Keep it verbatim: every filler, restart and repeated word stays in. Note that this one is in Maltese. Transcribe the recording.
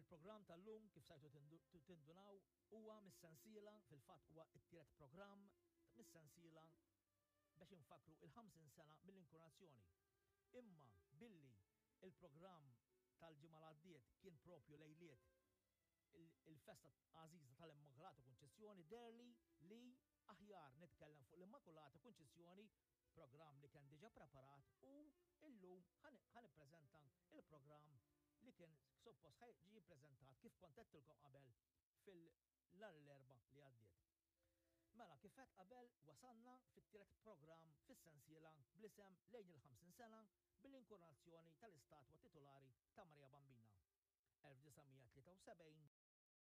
Il-programm tal-lum, kif stajtu tindunaw, huwa mis-sensiela, fil-fatt huwa t-tielet programm mis-sensiela biex infakru il-ħamsin sena mill-inkunazzjoni. Imma billi il-programm tal-ġimgħa l-għaddiet kien propju lejliet il-festa għażiża tal-Immakulata Kunċizzjoni, deherli li aħjar nitkellem fuq l-Immakulata Kunċizzjoni, programm li kien diġà preparat, u illum ħa nippreżenta il-programm li kien suppost ġie ppreżentat, kif kont għedtilkom qabel, fil-nhar l-Erbgħa li għaddiet. Mela, kif għedt qabel, wasalna fit-tielet programm fis-sensiela bl-isem "Lejn il-ħamsin sena bil-inkurunazzjoni tal-istatwa titolari ta' Marija Bambina, elf disa' mija tlieta u sebgħin".